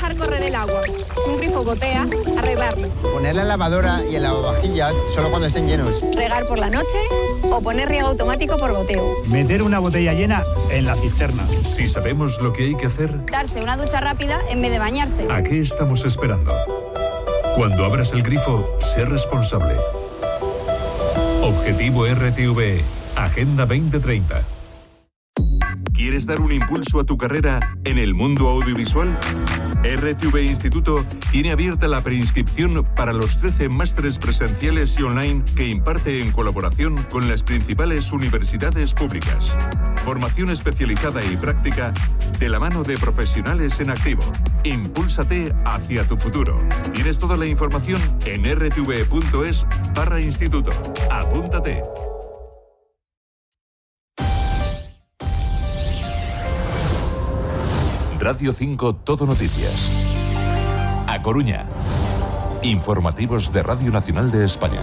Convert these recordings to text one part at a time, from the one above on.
dejar correr el agua. Si un grifo gotea, arreglarlo. Poner la lavadora y el lavavajillas solo cuando estén llenos. Regar por la noche o poner riego automático por goteo. Meter una botella llena en la cisterna. Si sabemos lo que hay que hacer, Darse una ducha rápida en vez de bañarse. ¿a qué estamos esperando? Cuando abras el grifo, sé responsable. Objetivo RTVE, Agenda 2030. ¿Quieres dar un impulso a tu carrera en el mundo audiovisual? RTV Instituto tiene abierta la preinscripción para los 13 másteres presenciales y online que imparte en colaboración con las principales universidades públicas. Formación especializada y práctica de la mano de profesionales en activo. Impúlsate hacia tu futuro. Tienes toda la información en rtve.es/instituto. Apúntate. Radio 5 Todo Noticias. A Coruña. Informativos de Radio Nacional de España.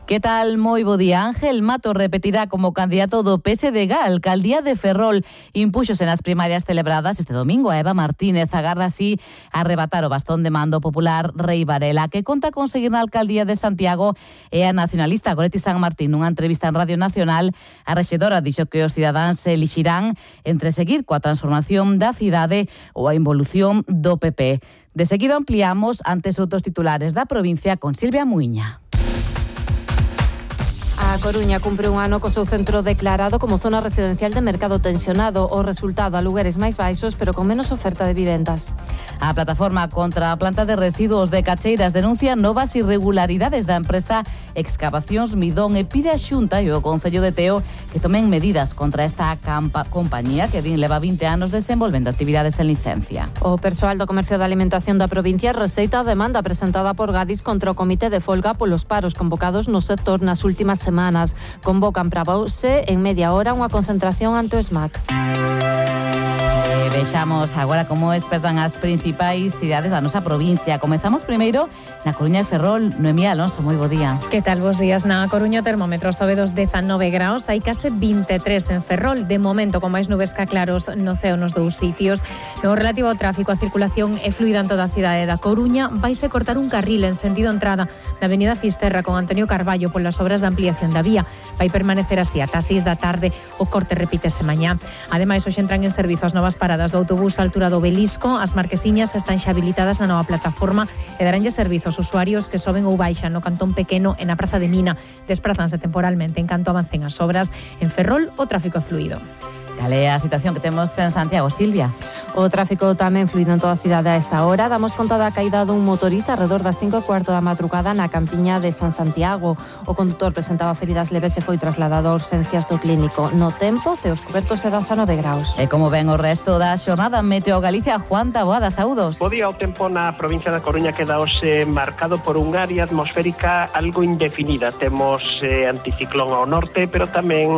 ¿Qué tal? Moi bo día. Ángel Mato repetirá como candidato do PSDG á alcaldía de Ferrol. Impúxose nas primarias celebradas este domingo a Eva Martínez. Agarda así arrebatar o bastón de mando popular Rei Varela, que conta conseguir na alcaldía de Santiago e a nacionalista Goretti San Martín. Nunha entrevista en Radio Nacional, a rexedora dixo que os cidadáns se elixirán entre seguir coa transformación da cidade ou a involución do PP. De seguido ampliamos antes outros titulares da provincia con Silvia Muiña. A Coruña cumpre un ano co seu centro declarado como zona residencial de mercado tensionado. O resultado, alugueres máis baixos, pero con menos oferta de vivendas. A plataforma contra a planta de residuos de Cacheiras denuncia novas irregularidades da empresa Excavacións Midón e pide a Xunta e o Concello de Teo que tomen medidas contra esta compañía que leva 20 anos desenvolvendo actividades en licencia. O persoal do Comercio da Alimentación da provincia receita a demanda presentada por Gadis contra o Comité de Folga polos paros convocados no sector nas últimas semanas. Convocan para Bause en media hora unha concentración ante o SMAC. Vexamos agora como espertan as principais cidades da nosa provincia. Comezamos primeiro na Coruña e Ferrol. Noemí Alonso, moi bo día. Que tal, bos días? Na Coruña o termómetro sobe dos 19 graus, hai case 23 en Ferrol. De momento, con máis nubes que claros no ceo nos dous sitios. No relativo ao tráfico, a circulación é fluida en toda a cidade da Coruña. Vaise cortar un carril en sentido entrada na avenida Fisterra con Antonio Carballo polas obras de ampliación da vía. Vai permanecer así ata 6 da tarde. O corte repítese mañá. Ademais, hoxe entran en servizo as novas paradas do autobús á altura do Obelisco. As marquesiñas están xa habilitadas na nova plataforma e daránlle servizo aos usuarios que soben ou baixan no Cantón Pequeno e na Praza de Mina. Desprázanse temporalmente en canto avancen as obras. En Ferrol, o tráfico é fluido. Cal é a situación que temos en Santiago, Silvia? O tráfico tamén fluido en toda a cidade a esta hora. Damos conta da caída dun motorista alrededor das 5:15 da madrugada na campiña de San Santiago. O condutor presentaba feridas leves e foi trasladado a urxencias do clínico. No tempo, ceos cobertos de 19 graus. E como ven o resto da xornada, Meteo Galicia, Juan Taboada, saúdos. Bo día, o tempo na provincia da Coruña queda hoxe marcado por un área atmosférica algo indefinida. Temos anticiclón ao norte, pero tamén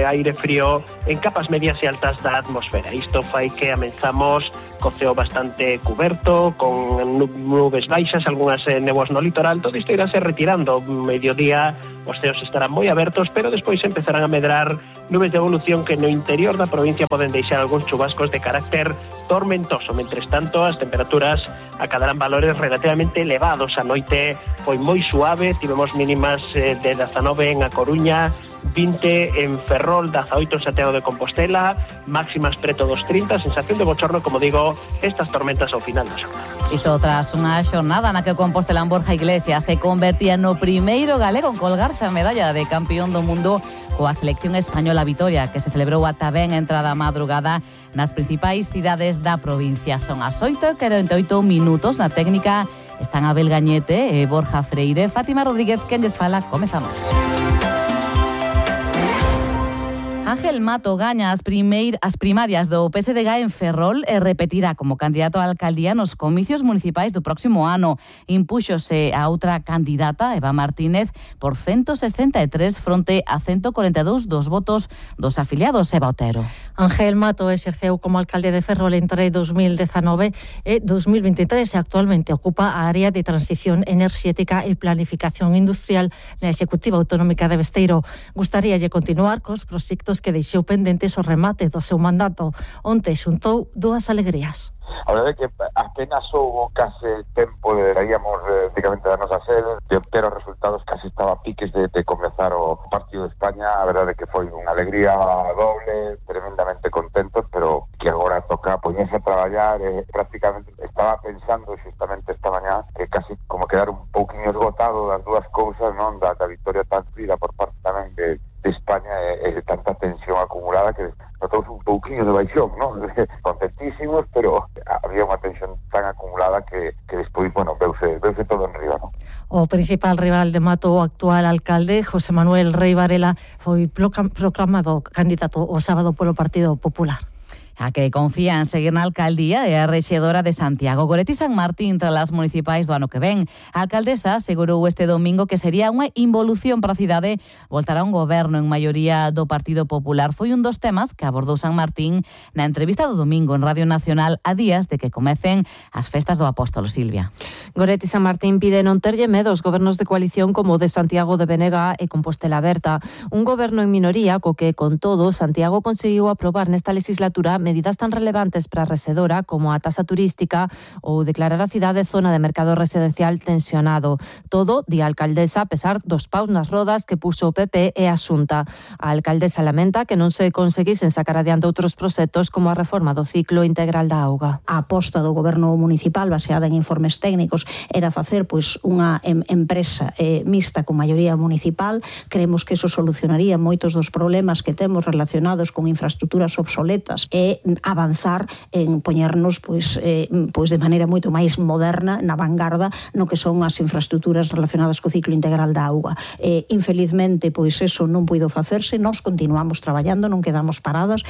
aire frío en capas medias e altas da atmosfera. Isto fai que amenzamos co ceo bastante cuberto, con nubes baixas, algunhas néboas no litoral. Todo isto irá se retirando. Mediodía os ceos estarán moi abertos, pero despois empezarán a medrar nubes de evolución que no interior da provincia poden deixar algúns chubascos de carácter tormentoso. Mentres tanto, as temperaturas acadarán valores relativamente elevados. A noite foi moi suave, tivemos mínimas de 19 en A Coruña, 20 en Ferrol, 18 en Santiago de Compostela, máximas preto dos 30, sensación de bochorno, como digo, estas tormentas ao final da xornada. Isto tras unha xornada na que o compostelán Borja Iglesias se convertía no primeiro galego en colgarse a medalla de campeón do mundo coa selección española Vitoria, que se celebrou ata ben entrada a madrugada nas principais cidades da provincia. Son as 8:48 minutos. Na técnica están Abel Gañete e Borja Freire. Fátima Rodríguez, quen lles fala, comezamos. Ángel Mato gaña as primarias do PSDG en Ferrol e repetirá como candidato á alcaldía nos comicios municipais do próximo ano. Impúxose a outra candidata, Eva Martínez, por 163 fronte a 142 dos votos dos afiliados. Eva Otero. Ángel Mato exerceu como alcalde de Ferrol entre 2019 e 2023 e actualmente ocupa a área de transición enerxética e planificación industrial na Executiva Autonómica de Besteiro. Gustaríalle continuar cos proxectos que deixou pendentes o remate do seu mandato. Onte xuntou dúas alegrías. A verdade é que apenas houve case tempo de daríamos prácticamente darnos a ser, de obter os resultados, casi estaba a piques de comenzar o partido de España. A verdade é que foi unha alegría doble, tremendamente contentos, pero que agora toca poñerse a traballar. Prácticamente estaba pensando justamente esta mañá que casi como quedar un pouquinho esgotado das dúas cousas, non, da victoria tan frida por parte tamén de España e de tanta tensión acumulada que notamos un pouquinho de baixón, non? Contentísimos, pero había unha tensión tan acumulada que despois, bueno, veuse todo en riba, non? O principal rival de Mato, o actual alcalde, José Manuel Rei Varela, foi proclamado candidato o sábado polo Partido Popular. A que confía en seguir na alcaldía e a rexedora de Santiago. Goretti San Martín tras as municipais do ano que ven. A alcaldesa asegurou este domingo que sería unha involución para a cidade voltar a un goberno en maioría do Partido Popular. Foi un dos temas que abordou San Martín na entrevista do domingo en Radio Nacional a días de que comecen as festas do Apóstolo, Silvia. Goretti San Martín pide non terlle medo aos gobernos de coalición como o de Santiago de Venega e Compostela Berta. Un goberno en minoría co que, con todo, Santiago conseguiu aprobar nesta legislatura medidas tan relevantes para a rexedora como a tasa turística ou declarar a cidade zona de mercado residencial tensionado. Todo, di a alcaldesa, a pesar dos paus nas rodas que puso o PP e a Xunta. A alcaldesa lamenta que non se conseguisen sacar adiante outros proxectos como a reforma do ciclo integral da auga. A aposta do goberno municipal baseada en informes técnicos era facer unha empresa mixta con maioría municipal. Creemos que eso solucionaría moitos dos problemas que temos relacionados con infraestructuras obsoletas e avanzar en poñernos de maneira moito máis moderna na vanguarda no que son as infraestructuras relacionadas co ciclo integral da auga. Infelizmente, eso non puido facerse. Nós continuamos traballando, non quedamos paradas.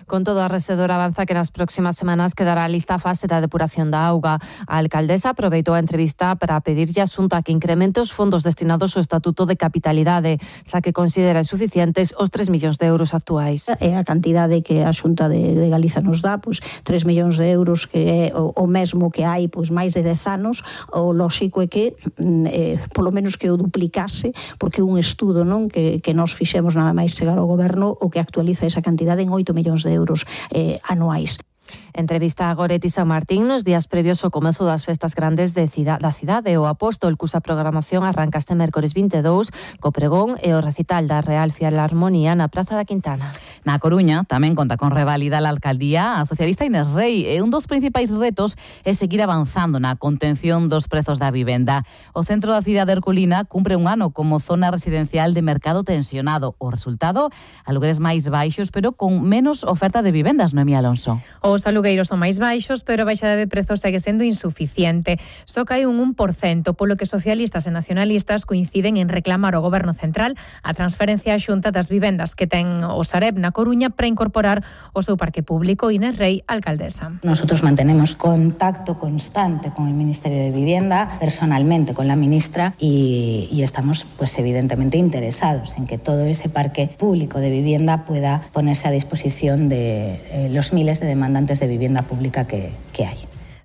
Con todo, a rexedora avanza que nas próximas semanas quedará lista a fase da depuración da auga. A alcaldesa aproveitou a entrevista para pedirlle a Xunta que incremente os fondos destinados ao Estatuto de Capitalidade, xa que considera insuficientes os 3 millóns de euros actuais. É a cantidade que a Xunta de Galiza nos dá, 3 millóns de euros, que é o mesmo que hai máis de 10 anos. O lóxico é que polo menos que o duplicase, porque un estudo, non, que nós fixemos nada máis chegar ao goberno, o que actualiza esa cantidade en 8 millóns de euros anuais. Entrevista a Goretti San Martín nos días previos ao comezo das festas grandes da cidade. O Apóstol, cusa programación arranca este mércores 22, co pregón e o recital da Real Filarmonía na Praza da Quintana. Na Coruña tamén conta con reválida a alcaldía a socialista Inés Rei, e un dos principais retos é seguir avanzando na contención dos prezos da vivenda. O centro da cidade herculina cumpre un ano como zona residencial de mercado tensionado. O resultado, alugueres máis baixos, pero con menos oferta de vivendas, Noemí Alonso. Os alugueiros son máis baixos, pero a baixada de prezos segue sendo insuficiente. Só cae un 1%, polo que socialistas e nacionalistas coinciden en reclamar ao Goberno Central a transferencia á Xunta das vivendas que ten o Sareb na Coruña para incorporar o seu parque público. Inés Rei, alcaldesa. Nosotros mantenemos contacto constante con el Ministerio de Vivienda, personalmente con la ministra, y estamos evidentemente interesados en que todo ese parque público de vivienda pueda ponerse a disposición de los miles de demandantes de vivienda pública que hai.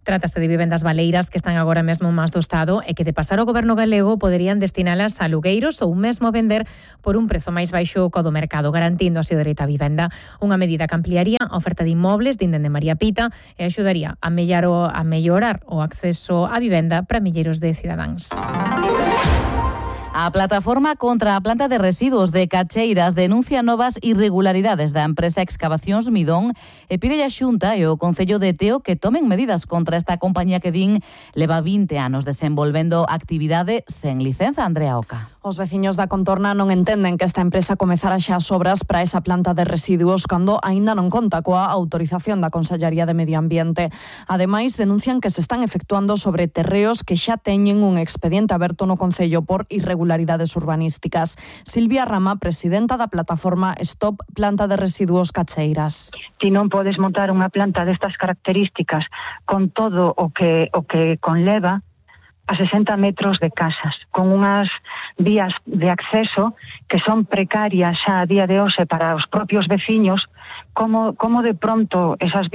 Trátase de vivendas baleiras que están agora mesmo máis do Estado e que, de pasar ao Goberno galego, poderían destinalas a alugueiros ou mesmo vender por un prezo máis baixo co do mercado, garantindo así o dereito á vivenda. Unha medida que ampliaría a oferta de inmobles, dinden de María Pita, e axudaría a mellorar o acceso á vivenda para milleiros de cidadáns. A plataforma contra a planta de residuos de Cacheiras denuncia novas irregularidades da empresa Excavacións Midón e pide a Xunta e o Concello de Teo que tomen medidas contra esta compañía que din leva 20 anos desenvolvendo actividade sen licenza. Andrea Oca. Os veciños da contorna non entenden que esta empresa comezara xa as obras para esa planta de residuos cando aínda non conta coa autorización da Consellería de Medio Ambiente. Ademais, denuncian que se están efectuando sobre terreos que xa teñen un expediente aberto no Concello por irregularidades urbanísticas. Silvia Rama, presidenta da plataforma Stop Planta de Residuos Cacheiras. Ti non podes montar unha planta destas características con todo o que conleva a 60 metros de casas, con unhas vías de acceso que son precarias xa a día de hoxe para os propios veciños. Como de pronto esas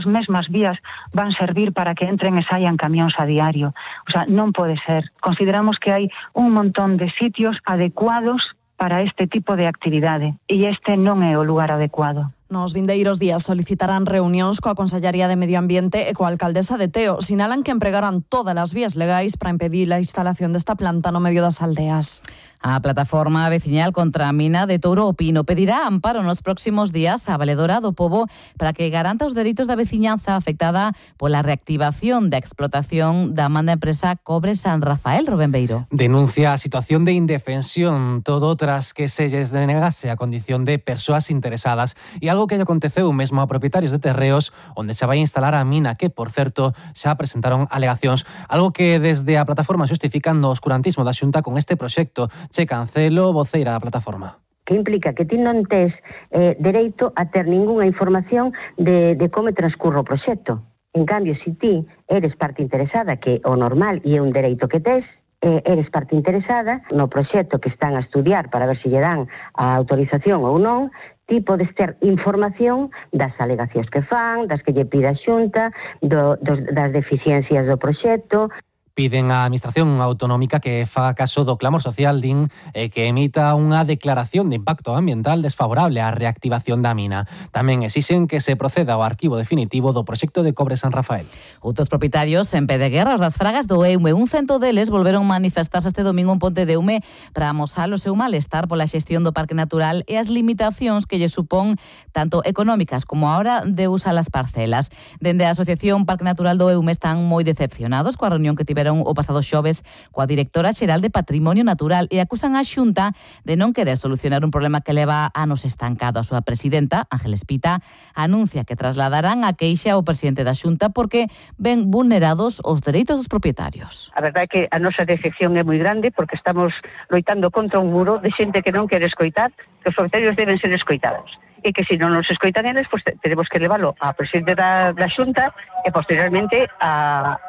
mesmas vías van servir para que entren e saian camións a diario? O sea, non pode ser. Consideramos que hai un montón de sitios adecuados para este tipo de actividade e este non é o lugar adecuado. Nos vindeiros días solicitarán reunións coa Consellería de Medio Ambiente e coa alcaldesa de Teo. Sinalan que empregarán todas as vías legais para impedir a instalación desta planta no medio das aldeas. A plataforma veciñal contra a mina de Touro o Pino pedirá amparo nos próximos días á Valedora do Pobo para que garanta os dereitos da veciñanza afectada pola reactivación da explotación da man da empresa Cobre San Rafael. Rubén Beiro. Denuncia a situación de indefensión, todo tras que se lles denegase a condición de persoas interesadas e algo que lle aconteceu mesmo a propietarios de terreos onde se vai instalar a mina que, por certo, xa presentaron alegacións, algo que desde a plataforma xustifican no oscurantismo da Xunta con este proxecto. Che Cancelo, voceira da plataforma. Que implica que ti non tes dereito a ter ningunha información de como transcurre o proxecto. En cambio, se ti eres parte interesada, que o normal e é un dereito que tes, eres parte interesada no proxecto que están a estudiar para ver se lle dan a autorización ou non, ti podes ter información das alegacións que fan, das que lle pide a Xunta, das deficiencias do proxecto. Piden á Administración Autonómica que faga caso do clamor social, din, e que emita unha declaración de impacto ambiental desfavorable á reactivación da mina. Tamén exixen que se proceda ao arquivo definitivo do proxecto de Cobre San Rafael. Outros propietarios en pé de guerra, os das fragas do Eume. Un cento deles volveron manifestarse este domingo en Ponte de Eume para amosar o seu malestar pola xestión do Parque Natural e as limitacións que lle supón tanto económicas como a hora de usar as parcelas. Dende a Asociación Parque Natural do Eume están moi decepcionados coa reunión que tiveron o pasado xoves coa directora xeral de Patrimonio Natural e acusan a Xunta de non querer solucionar un problema que leva anos estancado. A súa presidenta, Ángeles Pita, anuncia que trasladarán a queixa ao presidente da Xunta porque ven vulnerados os dereitos dos propietarios. A verdade é que a nosa decepción é moi grande porque estamos loitando contra un muro de xente que non quere escoitar, que os propietarios deben ser escoitados. E que se non nos escoitan eles, pues tenemos que leválo ao presidente da Xunta e posteriormente á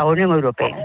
Unión Europea.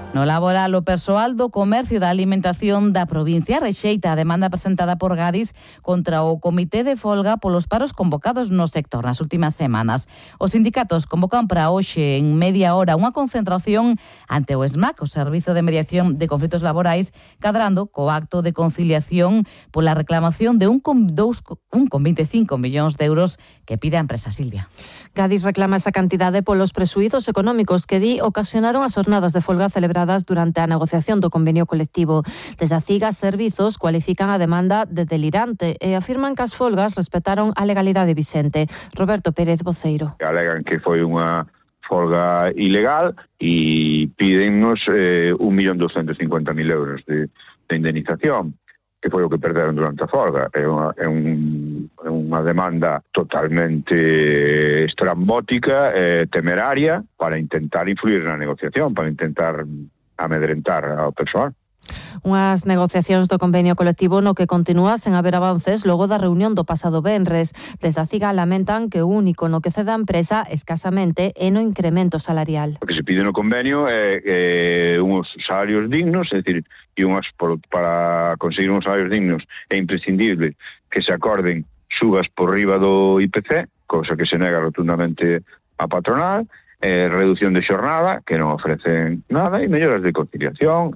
No laboral, o persoal do comercio da alimentación da provincia rexeita a demanda presentada por Gadis contra o Comité de Folga polos paros convocados no sector nas últimas semanas. Os sindicatos convocan para hoxe en media hora unha concentración ante o SMAC, o Servizo de Mediación de Conflitos Laborais, cadrando co acto de conciliación pola reclamación de 1,25 millóns de euros que pide a empresa Silvia. Gadis reclama esa cantidade polos presuízos económicos que ocasionaron as jornadas de folga celebradas durante a negociación do convenio colectivo. Desde a CIGA, Servizos cualifican a demanda de delirante e afirman que as folgas respetaron a legalidade vixente. Roberto Pérez, voceiro. Alegan que foi unha folga ilegal e pídennos 1.250.000 euros de indemnización, que foi o que perderon durante a folga. É unha demanda totalmente estrambótica, temeraria, para intentar influir na negociación, para intentar amedrentar ao persoal. Unhas negociacións do convenio colectivo no que continúa sen haber avances logo da reunión do pasado venres. Desde a CIGA lamentan que o único no que cede a empresa escasamente é no incremento salarial. O que se pide no convenio é uns salarios dignos, é dicir, para conseguir uns salarios dignos é imprescindible que se acorden subas por riba do IPC, cosa que se nega rotundamente a patronal, reducción de xornada, que non ofrecen nada, e melloras de conciliación.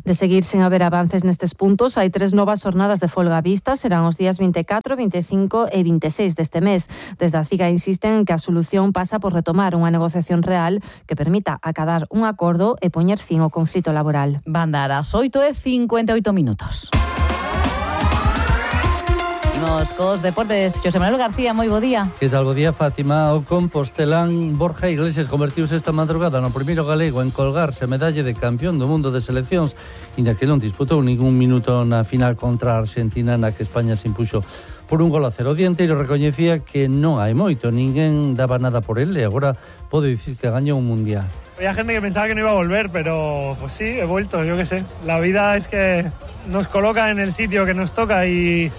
De seguir sen haber avances nestes puntos, hai 3 novas jornadas de folga vistas, serán os días 24, 25 e 26 deste mes. Desde a CIGA insisten que a solución pasa por retomar unha negociación real que permita acadar un acordo e poñer fin ao conflito laboral. Van dar as 8:58. Imos cos deportes. Xosé Manuel García, moi bo día. Que tal, bo día, Fátima. O compostelán Borja Iglesias convertiuse esta madrugada no primeiro galego en colgarse a medalla de campeón do mundo de seleccións, inda que non disputou ningún minuto na final contra a Argentina, na que España se impuxo por 1-0. O dianteiro recoñecía que non hai moito, ninguén daba nada por él e agora pode dicir que gañou un mundial. Había gente que pensaba que no iba a volver, pero pues sí, he vuelto, yo qué sé. La vida es que nos coloca en el sitio que nos toca y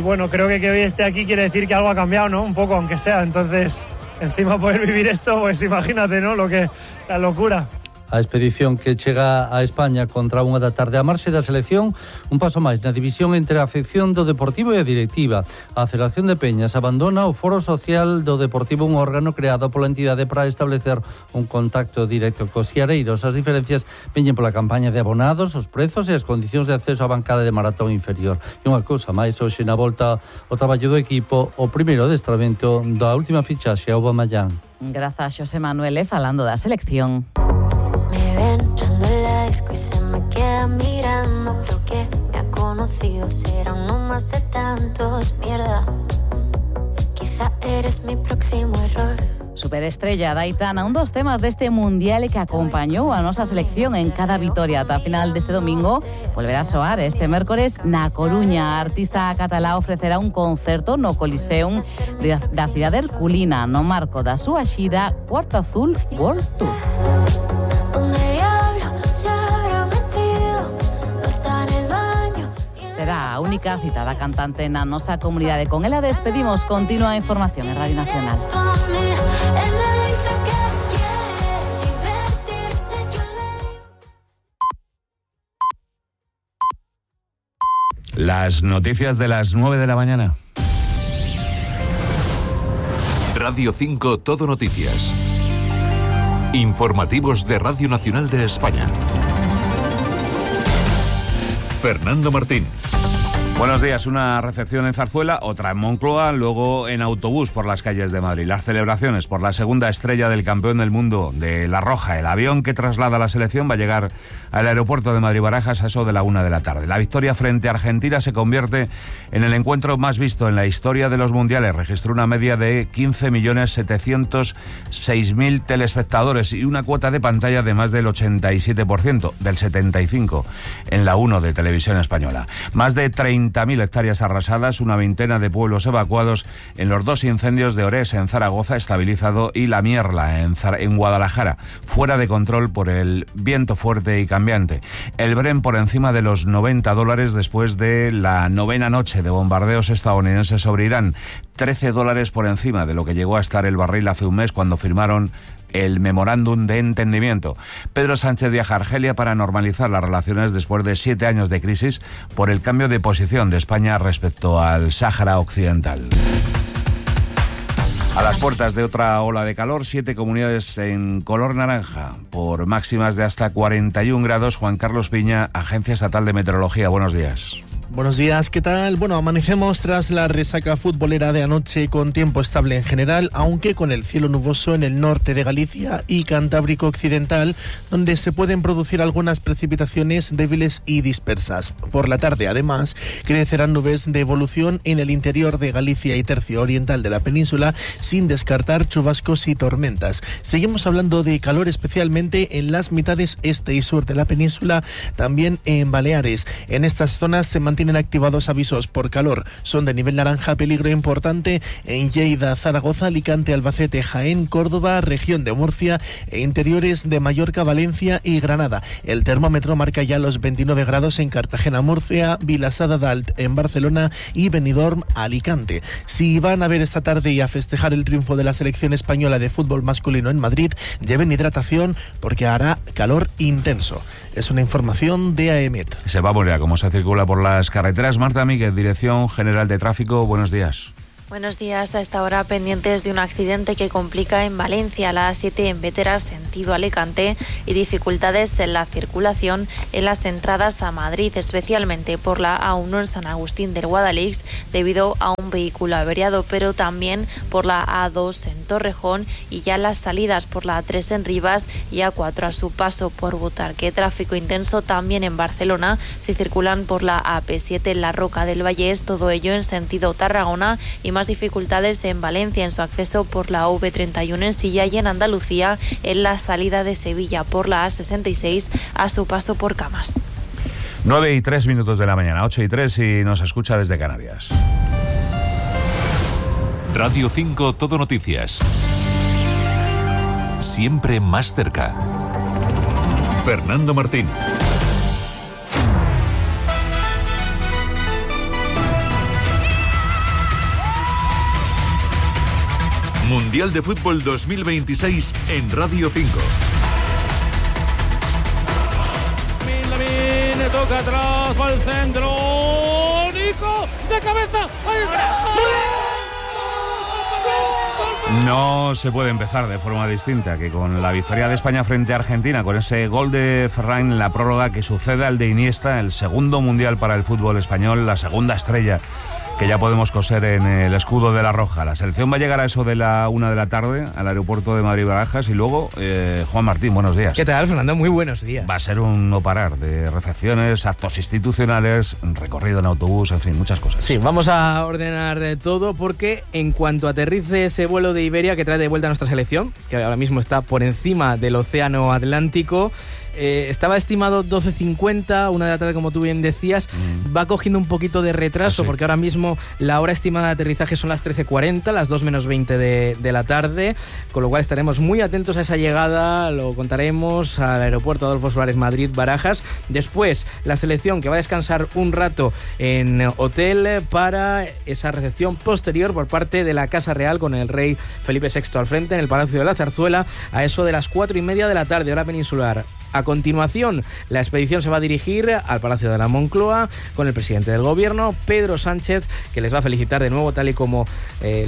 bueno, creo que hoy esté aquí quiere decir que algo ha cambiado, ¿no? Un poco, aunque sea. Entonces, encima poder vivir esto, pues imagínate, ¿no? La locura. A expedición que chega a España contra 1 da tarde. A marxe da selección, un paso máis na división entre a afección do Deportivo e a directiva. A Federación de Peñas abandona o Foro Social do Deportivo, un órgano creado pola entidade para establecer un contacto directo cos siareiros. As diferencias veñen pola campaña de abonados, os prezos e as condicións de acceso á bancada de maratón inferior. E unha cousa máis, hoxe na volta ao traballo do equipo, o primeiro adestramento da última fichaxe a Aubameyang. Grazas, Xosé Manuel, falando da selección. Me ven entrando en la disco y se me queda mirando. Creo que me ha conocido, será uno más de tantos. Mierda, quizá eres mi próximo error. Superestrella da Aitana, un dos temas deste mundial que acompañou a nosa selección en cada vitoria ata a final deste domingo. Volverá a soar este mércores na Coruña. A artista catalá ofrecerá un concerto no Coliseum da cidade herculina no marco da súa xira Cuarto Azul World Tour. Será a única cita da cantante na nosa comunidade. Con ela despedimos. Continúa a información en Radio Nacional. Las noticias de las 9 de la mañana. Radio 5 Todo Noticias. Informativos de Radio Nacional de España. Fernando Martín. Buenos días. Una recepción en Zarzuela, otra en Moncloa, luego en autobús por las calles de Madrid. Las celebraciones por la segunda estrella del campeón del mundo de La Roja. El avión que traslada a la selección va a llegar al aeropuerto de Madrid-Barajas a eso de la 1 de la tarde. La victoria frente a Argentina se convierte en el encuentro más visto en la historia de los mundiales. Registró una media de 15.706.000 telespectadores y una cuota de pantalla de más del 87%, del 75% en la 1 de Televisión Española. Más de 30.000 hectáreas arrasadas, una veintena de pueblos evacuados en los dos incendios de Orés en Zaragoza, estabilizado, y La Mierla en Guadalajara, fuera de control por el viento fuerte y cambiante. El Bren por encima de los $90 después de la 9ª noche de bombardeos estadounidenses sobre Irán. $13 por encima de lo que llegó a estar el barril hace un mes cuando firmaron el memorándum de entendimiento. Pedro Sánchez viaja a Argelia para normalizar las relaciones después de 7 años de crisis por el cambio de posición de España respecto al Sáhara Occidental. A las puertas de otra ola de calor, 7 comunidades en color naranja, por máximas de hasta 41 grados. Juan Carlos Piña, Agencia Estatal de Meteorología. Buenos días. Buenos días, ¿qué tal? Bueno, amanecemos tras la resaca futbolera de anoche con tiempo estable en general, aunque con el cielo nuboso en el norte de Galicia y Cantábrico Occidental, donde se pueden producir algunas precipitaciones débiles y dispersas. Por la tarde, además, crecerán nubes de evolución en el interior de Galicia y tercio oriental de la península, sin descartar chubascos y tormentas. Seguimos hablando de calor, especialmente en las mitades este y sur de la península, también en Baleares. En estas zonas se mantienen activados avisos por calor. Son de nivel naranja, peligro importante en Lleida, Zaragoza, Alicante, Albacete, Jaén, Córdoba, región de Murcia e interiores de Mallorca, Valencia y Granada. El termómetro marca ya los 29 grados en Cartagena, Murcia, Vilassar de Dalt en Barcelona y Benidorm, Alicante. Si van a ver esta tarde y a festejar el triunfo de la selección española de fútbol masculino en Madrid, lleven hidratación porque hará calor intenso. Es una información de AEMET. Se va a volver a cómo se circula por las carreteras. Marta Míguez, Dirección General de Tráfico, buenos días. Buenos días. A esta hora pendientes de un accidente que complica en Valencia, a la A7 en Bétera, sentido Alicante, y dificultades en la circulación en las entradas a Madrid, especialmente por la A1 en San Agustín del Guadalix, debido a un vehículo averiado, pero también por la A2 en Torrejón y ya las salidas por la A3 en Rivas y A4 a su paso por Butarque. Tráfico intenso también en Barcelona, si circulan por la AP7 en la Roca del Vallés, todo ello en sentido Tarragona, y más dificultades en Valencia en su acceso por la V31 en Silla y en Andalucía en la salida de Sevilla por la A66 a su paso por Camas. 9:03 de la mañana, 8:03 y nos escucha desde Canarias. Radio 5 Todo Noticias. Siempre más cerca. Fernando Martín. Mundial de Fútbol 2026 en Radio 5. toca atrás, va al centro. Nico, de cabeza. Ahí está. No se puede empezar de forma distinta que con la victoria de España frente a Argentina, con ese gol de Ferran en la prórroga que sucede al de Iniesta, el segundo mundial para el fútbol español, la segunda estrella que ya podemos coser en el escudo de la Roja. La selección va a llegar a eso de la 1 de la tarde al aeropuerto de Madrid-Barajas y luego, Juan Martín, buenos días. ¿Qué tal, Fernando? Muy buenos días. Va a ser un no parar de recepciones, actos institucionales, recorrido en autobús, en fin, muchas cosas. Sí, vamos a ordenar todo porque en cuanto aterrice ese vuelo de Iberia que trae de vuelta a nuestra selección, que ahora mismo está por encima del Océano Atlántico, estaba estimado 12:50, 1 de la tarde, como tú bien decías. Va cogiendo un poquito de retraso, porque ahora mismo la hora estimada de aterrizaje son las 13:40, las 2 menos 20 de la tarde, con lo cual estaremos muy atentos a esa llegada. Lo contaremos al aeropuerto Adolfo Suárez Madrid-Barajas. Después la selección que va a descansar un rato en hotel para esa recepción posterior por parte de la Casa Real, con el rey Felipe VI al frente en el Palacio de la Zarzuela a eso de las 4:30 de la tarde, hora peninsular. A continuación, la expedición se va a dirigir al Palacio de la Moncloa con el presidente del gobierno, Pedro Sánchez, que les va a felicitar de nuevo, tal y como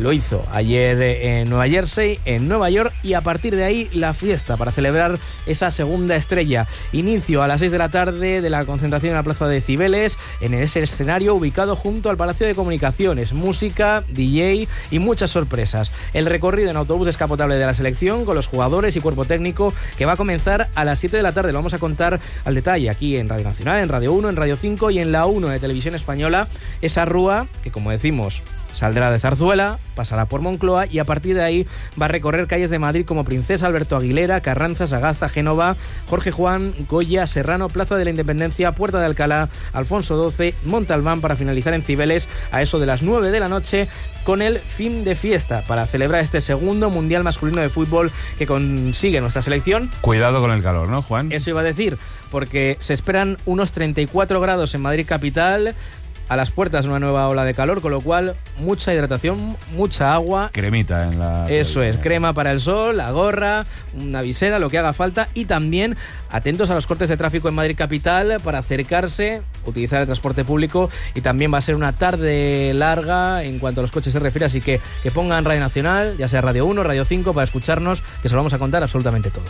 lo hizo ayer en Nueva Jersey, en Nueva York, y a partir de ahí la fiesta para celebrar esa segunda estrella. Inicio a las 6 de la tarde de la concentración en la Plaza de Cibeles, en ese escenario ubicado junto al Palacio de Comunicaciones. Música, DJ y muchas sorpresas. El recorrido en autobús descapotable de la selección con los jugadores y cuerpo técnico, que va a comenzar a las 7 de la tarde. Lo vamos a contar al detalle aquí en Radio Nacional, en Radio 1, en Radio 5 y en la 1 de Televisión Española. Esa rúa que, como decimos, saldrá de Zarzuela, pasará por Moncloa y a partir de ahí va a recorrer calles de Madrid como Princesa, Alberto Aguilera, Carranza, Sagasta, Génova, Jorge Juan, Goya, Serrano, Plaza de la Independencia, Puerta de Alcalá, Alfonso XII, Montalbán, para finalizar en Cibeles a eso de las 9 de la noche con el fin de fiesta para celebrar este segundo Mundial Masculino de Fútbol que consigue nuestra selección. Cuidado con el calor, ¿no, Juan? Eso iba a decir, porque se esperan unos 34 grados en Madrid capital, a las puertas una nueva ola de calor, con lo cual mucha hidratación, mucha agua. Cremita en la... Eso es, crema para el sol, la gorra, una visera, lo que haga falta, y también atentos a los cortes de tráfico en Madrid capital para acercarse, utilizar el transporte público, y también va a ser una tarde larga en cuanto a los coches se refiere, así que pongan Radio Nacional, ya sea Radio 1, Radio 5, para escucharnos, que se lo vamos a contar absolutamente todo.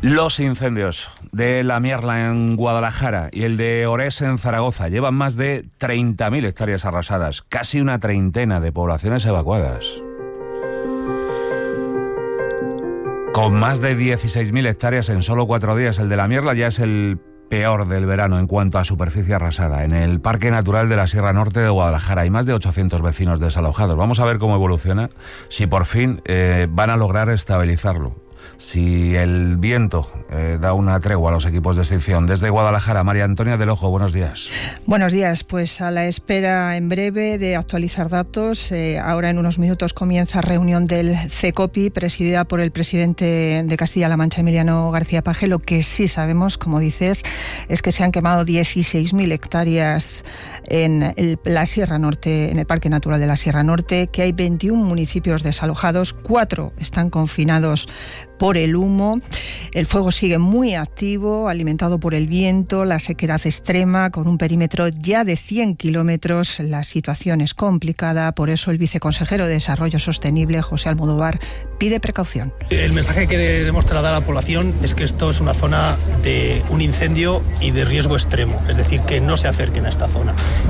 Los incendios de La Mierla en Guadalajara y el de Orés en Zaragoza llevan más de 30.000 hectáreas arrasadas, casi una treintena de poblaciones evacuadas. Con más de 16.000 hectáreas en solo 4 días, el de La Mierla ya es el peor del verano en cuanto a superficie arrasada. En el Parque Natural de la Sierra Norte de Guadalajara hay más de 800 vecinos desalojados. Vamos a ver cómo evoluciona, si por fin van a lograr estabilizarlo. Si el viento da una tregua a los equipos de extinción. Desde Guadalajara, María Antonia del Ojo, buenos días. Buenos días, pues a la espera en breve de actualizar datos. Ahora en unos minutos comienza reunión del CECOPI, presidida por el presidente de Castilla-La Mancha, Emiliano García Paje. Lo que sí sabemos, como dices, es que se han quemado 16.000 hectáreas en la Sierra Norte, en el Parque Natural de la Sierra Norte, que hay 21 municipios desalojados, 4 están confinados por el humo. El fuego sigue muy activo, alimentado por el viento, la sequedad extrema, con un perímetro ya de 100 kilómetros. La situación es complicada, por eso el viceconsejero de Desarrollo Sostenible, José Almodóvar, pide precaución. El mensaje que queremos trasladar a la población es que esto es una zona de un incendio y de riesgo extremo, es decir, que no se acerquen a esta zona.